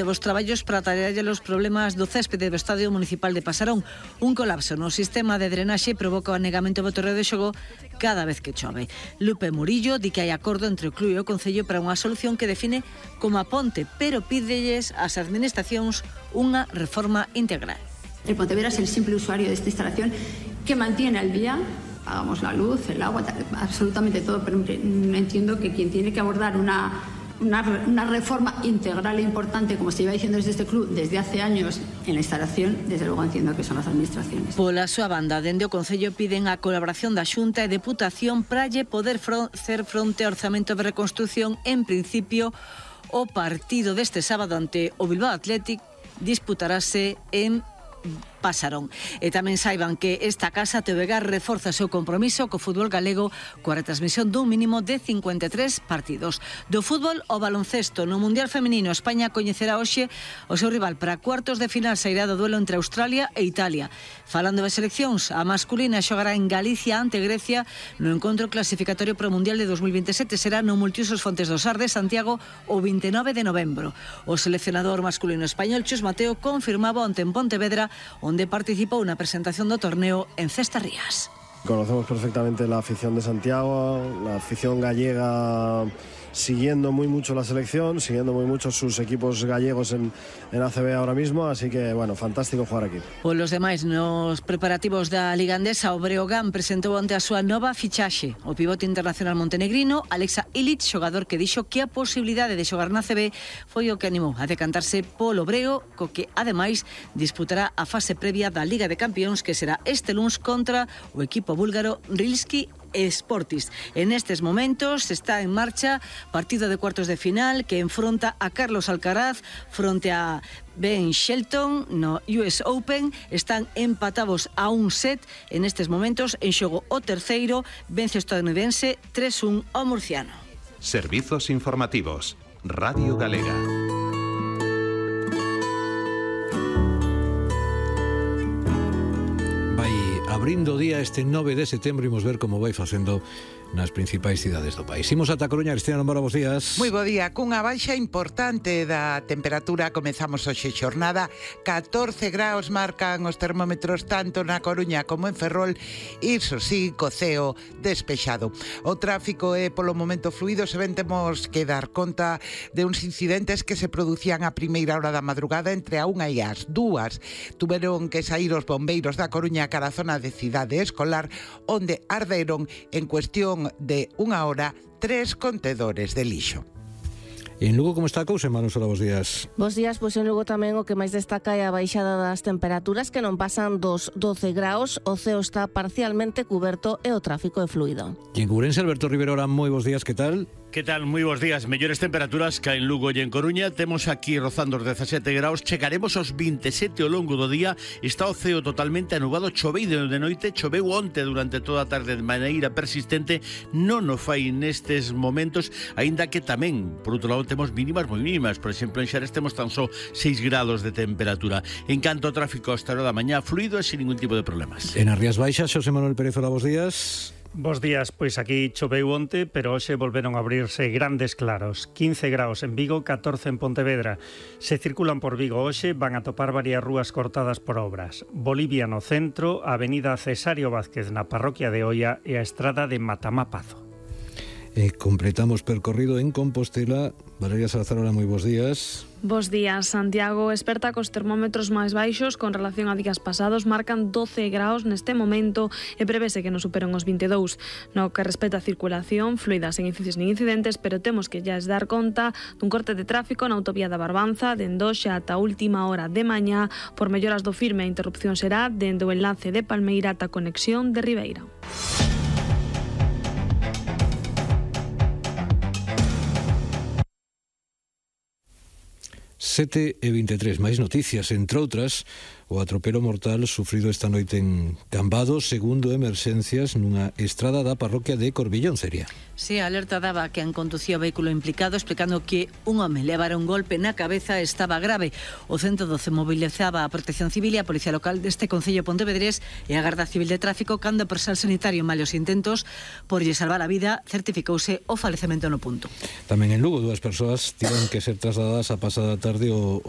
Os traballos para atallar os problemas do céspede do Estadio Municipal de Pasarón. Un colapso no sistema de drenaxe provoca o anegamento do terreo de xogo cada vez que chove. Lupe Murillo di que hai acordo entre o club e o Concello para unha solución que define como a ponte, pero pídelles ás administracións unha reforma integral. El Pontevedra es el simple usuario de esta instalación que mantiene al día, pagamos la luz, el agua, absolutamente todo, pero entiendo que quien tiene que abordar una reforma integral e importante, como se lleva diciendo desde este club desde hace años en la instalación, desde luego entiendo que son as administraciones. Pola súa banda, dende o Concello piden a colaboración da Xunta e Deputación para poder hacer fronte ao orzamento de reconstrucción. En principio, o partido deste sábado ante o Bilbao Athletic disputarase en Pasarón. E tamén saiban que esta casa TVG reforza o seu compromiso co fútbol galego coa retransmisión dun mínimo de 53 partidos. Do fútbol ao baloncesto, no Mundial Feminino, España coñecerá hoxe o seu rival para cuartos de final. Sairá do duelo entre Australia e Italia. Falando das seleccións, a masculina xogará en Galicia ante Grecia no encontro clasificatorio para o Mundial de 2027. Será no Multiusos Fontes do Sar de Santiago o 29 de novembro. O seleccionador masculino español Chus Mateo confirmaba onte en Pontevedra, onde participou na presentación do torneo en Cestarrías. Conocemos perfectamente la afición de Santiago, la afición gallega siguiendo muy mucho la selección, siguiendo muy mucho sus equipos gallegos en ACB ahora mismo, así que, bueno, fantástico jugar aquí. Polos demais, nos preparativos da Liga Andesa, o Breogán presentou onte a súa nova fichaxe, o pivote internacional montenegrino Alexa Ilic, xogador que dixo que a posibilidade de xogar na ACB foi o que animou a decantarse polo Breo, co que, ademais, disputará a fase previa da Liga de Campións, que será este luns contra o equipo búlgaro Rilski Sportis. En estes momentos está en marcha partido de cuartos de final que enfronta a Carlos Alcaraz fronte a Ben Shelton no US Open. Están empatados a un set en estes momentos. En xogo o terceiro, vence o estadounidense 3-1 ao murciano. Servizos informativos. Radio Galega. Abrindo o día este 9 de setembro, imos ver como vai facendo nas principais cidades do país. Imos ata Coruña. Cristina Lombora, bos días. Moi bo día. Cunha baixa importante da temperatura comezamos hoxe xornada. 14 graus marcan os termómetros tanto na Coruña como en Ferrol. Iso sí, co ceo despexado. O tráfico é polo momento fluido. Se ben temos que dar conta de uns incidentes que se producían a primeira hora da madrugada entre a 1 e as 2. Tuveron que sair os bombeiros da Coruña cara a zona de Cidade Escolar, onde arderon en cuestión de 1 hora 3 contedores de lixo. En Lugo, como está a cousa, Manu Sola, bos días. Bos días, pois en Lugo tamén o que máis destaca é a baixada das temperaturas, que non pasan dos 12 graus, o ceo está parcialmente cuberto e o tráfico é fluido. E en Ourense, Alberto Rivera, moi bos días, que tal? Que tal? Moi bons días. Mellores temperaturas que en Lugo e en Coruña. Temos aquí rozando os 17 graus. Chegaremos aos 27 ao longo do día. Está o ceo totalmente anubado. Choveu de noite, choveu onte durante toda a tarde de maneira persistente. Non o fai nestes momentos, aínda que tamén, por outro lado, temos mínimas moi mínimas. Por exemplo, en Xares temos tan só 6 grados de temperatura. En canto ao tráfico, hasta a hora da mañá, fluido e sin ningún tipo de problemas. En as Rías Baixas, Xosé Manuel Pérez, hola, bos días. Bos días, pois aquí choveu onte, pero hoxe volveron a abrirse grandes claros. 15 graus en Vigo, 14 en Pontevedra. Se circulan por Vigo hoxe, van a topar varias rúas cortadas por obras. Bolivia no centro, a avenida Cesario Vázquez na parroquia de Oia e a estrada de Matamá-Pazo. Completamos percorrido en Compostela. Valeria Salazar, hola, moi bos días. Bos días. Santiago esperta cos termómetros máis baixos con relación a días pasados. Marcan 12 graus neste momento e prevese que non superen os 22. No que respecta a circulación, fluida, sen incisos nin incidentes, pero temos que ya dar conta dun corte de tráfico na autovía da Barbanza dende hoxe ata a última hora de mañá. Por melloras do firme, a interrupción será dende o enlace de Palmeira ata a conexión de Ribeira. 7:23, máis noticias, entre outras, o atropelo mortal sufrido esta noite en Cambados, segundo emerxencias nunha estrada da parroquia de Corbillón, Ceria. Sí, a alerta daba que han conducido o vehículo implicado, explicando que un home levara un golpe na cabeza e estaba grave. O 112 mobilizaba a Protección Civil e a Policía Local deste Concello Pontevedrés e a Garda Civil de Tráfico, cando o persoal sanitario, malos intentos por lle salvar a vida, certificouse o falecemento no punto. Tamén en Lugo, 2 persoas tiveron que ser trasladadas a pasada tarde ao